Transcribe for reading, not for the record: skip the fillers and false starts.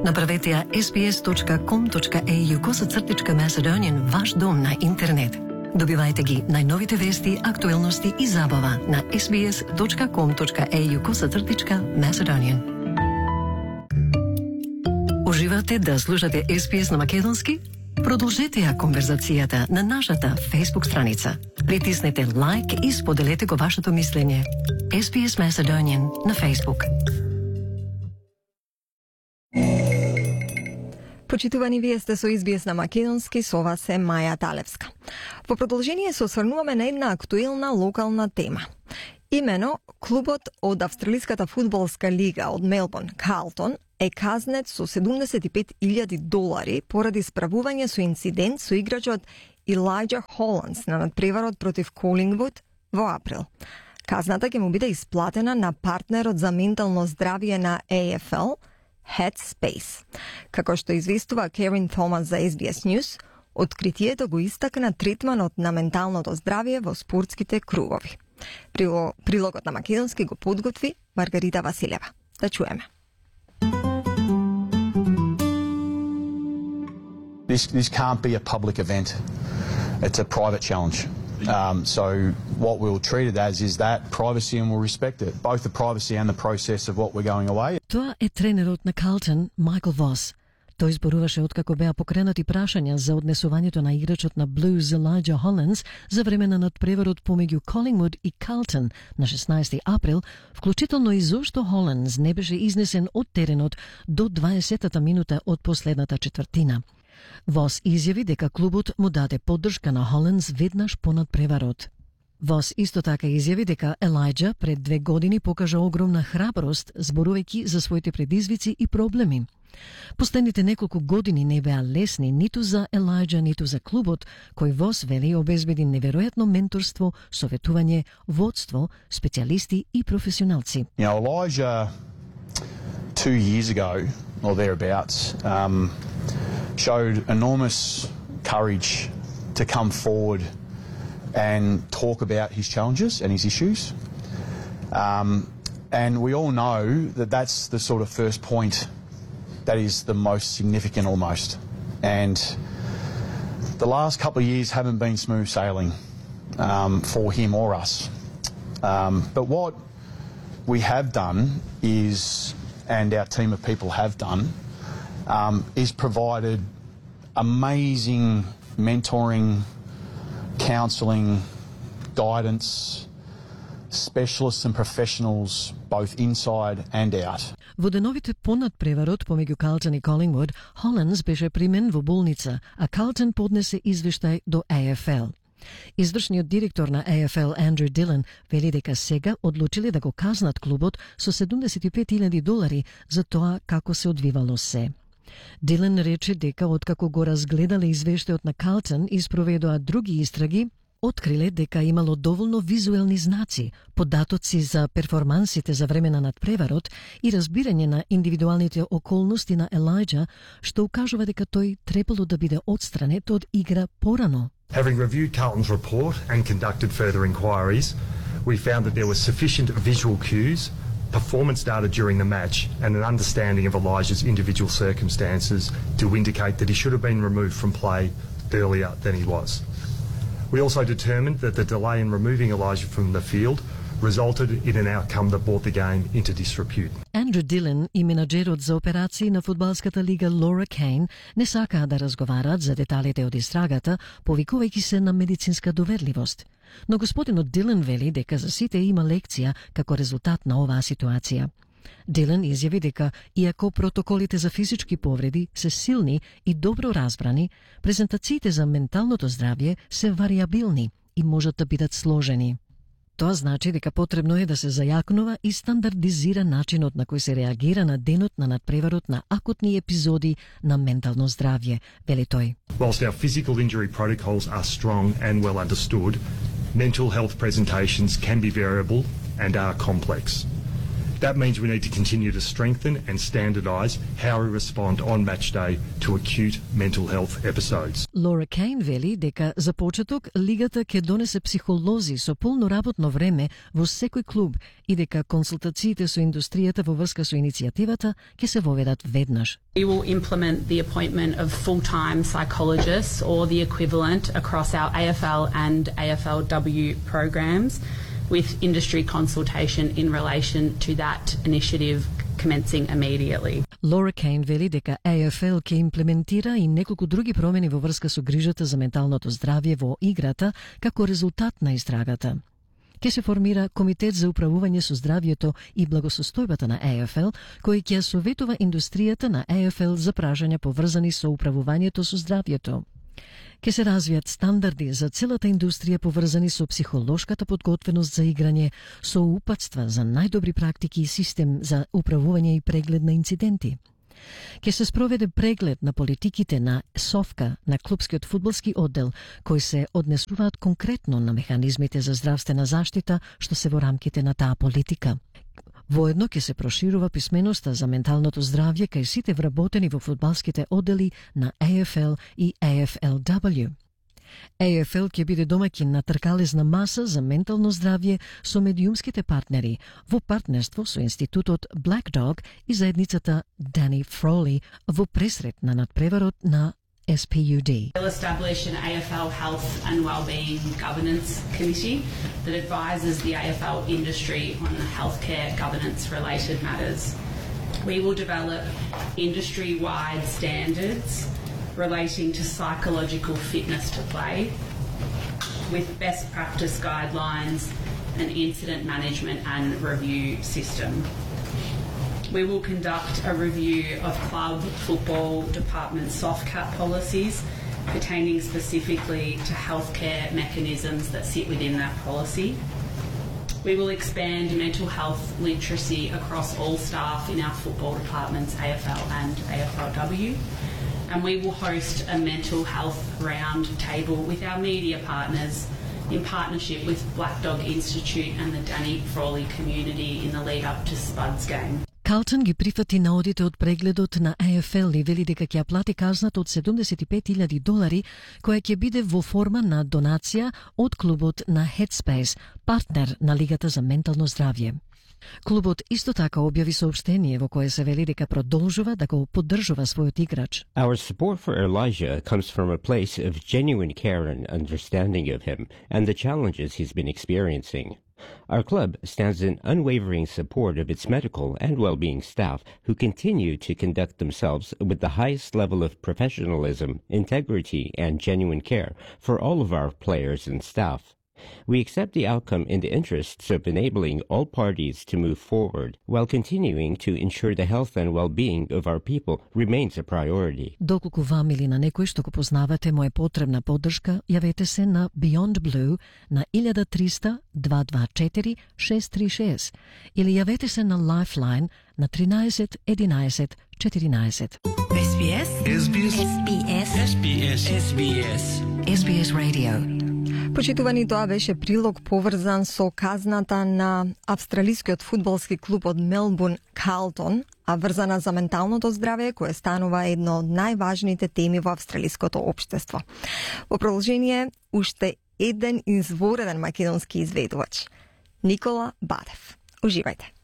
Направете ја sbs.com.au/Macedonian ваш дом на интернет. Добивајте ги најновите вести, актуелности и забава на sbs.com.au/Macedonian. Уживате да слушате SBS на македонски? Продолжете ја конверзацијата на нашата Facebook страница. Притиснете лайк и споделете го вашето мислење. SBS Macedonian на Facebook. Почитувани, вие сте со SBS на македонски, со вас е Маја Талевска. Во продолжение се осврнуваме на една актуелна локална тема. Имено, клубот од Австралиската фудбалска лига од Мелбурн, Карлтон, е казнет со $75,000 поради справување со инцидент со играчот Илајджа Холандс на надпреварот против Колингвуд во април. Казната ќе му биде исплатена на партнерот за ментално здравје на AFL, Headspace. Како што известува Керин Томас за SBS News, откритието го истакна третманот на менталното здравје во спортските кругови. Прилогот на македонски го подготви Маргарита Василева. Да чуеме. This can't be a public event. It's a private challenge. So what we'll treat it as is that privacy, and we'll respect it, both the privacy and the process of what we're going away. Тоа е тренерот на Карлтон, Майкл Вос. Тој зборуваше откако беа покренати прашања за однесувањето на играчот на Блуз Илајджа Холандс за време на надпреварот помеѓу Колингвуд и Карлтон на 16 април, вклучително и зошто Холандс не беше изнесен од теренот до 20-та минута од последната четвртина. Вос изјави дека клубот му даде поддршка на Холандс веднаш по надпреварот. Вос исто така изјави дека Елајджа пред 2 години покажа огромна храброст зборувајќи за своите предизвици и проблеми. Последните неколку години не беа лесни ниту за Елајджа, ниту за клубот, кој Вос вели обезбеди неверојатно менторство, советување, водство, специјалисти и професионалци. Elijah 2 years ago or thereabouts showed enormous courage to come forward and talk about his challenges and his issues. And we all know that that's the sort of first point that is the most significant almost. And the last couple of years haven't been smooth sailing for him or us. But what we have done is, and our team of people have done, is provided amazing mentoring, counselling, guidance, specialists and professionals both inside and out. Во деновите понад преварот помеѓу Карлтон и Колингвуд, Холандс беше примен во болница, а Карлтон поднесе извештај до AFL. Извршниот директор на AFL Андрю Дилан вели дека сега одлучиле да го казнат клубот со $75,000 за тоа како се одвивало се. Дилан рече дека откако го разгледале извештајот на Карлтон и спроведоа други истраги, откриле дека имало доволно визуелни знаци, податоци за перформансите за време на надпреварот и разбирање на индивидуалните околности на Елајджа, што укажува дека тој требало да биде отстранет од игра порано. Having reviewed Carlton's report and conducted further inquiries, we found that there was sufficient visual cues, performance data during the match, and an understanding of Elijah's individual circumstances to indicate that he should have been removed from play earlier than he was. We also determined that the delay in removing Elijah from the field resulted in an outcome that brought the game into disrepute. Андрю Дилан и менаџерот за операции на фудбалската лига Лора Кейн не сакаа да разговараат за деталите од истрагата, повикувајќи се на медицинска доверливост. Но господинот Дилан вели дека за сите има лекција како резултат на оваа ситуација. Дилан изјави дека, иако протоколите за физички повреди се силни и добро разбрани, презентациите за менталното здравје се вариабилни и можат да бидат сложени. Тоа значи дека потребно е да се зајакнува и стандардизира начинот на кој се реагира на денот на надпреварот на акутни епизоди на ментално здравје, вели тој. Whilst our physical injury protocols are strong and well understood, mental health presentations can be variable and are complex. That means we need to continue to strengthen and standardise how we respond on match day to acute mental health episodes. Лора Кейн вели дека за почеток лигата ќе донесе психолози со полно работно време во секој клуб и дека консултациите со индустријата во врска со иницијативата ќе се воведат веднаш. We will implement the appointment of full-time psychologists or the equivalent across our AFL and AFLW programs, with industry consultation in relation to that initiative commencing immediately. Лора Кейн вели дека AFL ќе имплементира и неколку други промени во врска со грижата за менталното здравје во играта како резултат на истрагата. Ќе се формира Комитет за управување со здравјето и благосостојбата на AFL, кој ќе советува индустријата на AFL за прашања поврзани со управувањето со здравјето. Ке се развијат стандарди за целата индустрија поврзани со психолошката подготвеност за играње, со упатства за најдобри практики и систем за управување и преглед на инциденти. Ке се спроведе преглед на политиките на СОФКА, на клубскиот фудбалски оддел, кои се однесуваат конкретно на механизмите за здравствена заштита што се во рамките на таа политика. Воедно ќе се проширува писменоста за менталното здравје кај сите вработени во фудбалските оддели на AFL и AFLW. AFL ќе биде домаќин на тркалезна маса за ментално здравје со медиумските партнери во партнерство со институтот Black Dog и заедницата Danny Frawley во пресрет на надпреварот на SPUD. We'll establish an AFL Health and Wellbeing Governance Committee that advises the AFL industry on healthcare governance-related matters. We will develop industry-wide standards relating to psychological fitness to play, with best practice guidelines, an incident management and review system. We will conduct a review of club football department soft cap policies pertaining specifically to healthcare mechanisms that sit within that policy. We will expand mental health literacy across all staff in our football departments, AFL and AFLW. And we will host a mental health round table with our media partners in partnership with Black Dog Institute and the Danny Frawley community in the lead up to Spuds game. Калтон ги прифати наодите од прегледот на AFL и вели дека ќе ја плати казната од $75,000, која ќе биде во форма на донација од клубот на Headspace, партнер на Лигата за ментално здравје. Клубот исто така објави соопштение во кое се вели дека продолжува да го поддржува својот играч. Our support for Elijah comes from a place of genuine care and understanding of him and the challenges he's been experiencing. Our club stands in unwavering support of its medical and well-being staff who continue to conduct themselves with the highest level of professionalism, integrity, and genuine care for all of our players and staff. We accept the outcome in the interests of enabling all parties to move forward while continuing to ensure the health and well-being of our people remains a priority. Доколку вам или на некој што го познавате му е потребна поддршка, јавете се на Beyond Blue на 1300-224-636 или јавете се на Lifeline на 13 11 14. SBS SBS SBS SBS SBS SBS Radio. Почитувани, тоа беше прилог поврзан со казната на австралискиот фудбалски клуб од Мелбурн Калтон, а врзана за менталното здравје, кое станува едно од најважните теми во австралиското општество. Во продолжение, уште еден извореден македонски изведувач, Никола Бадев. Уживајте.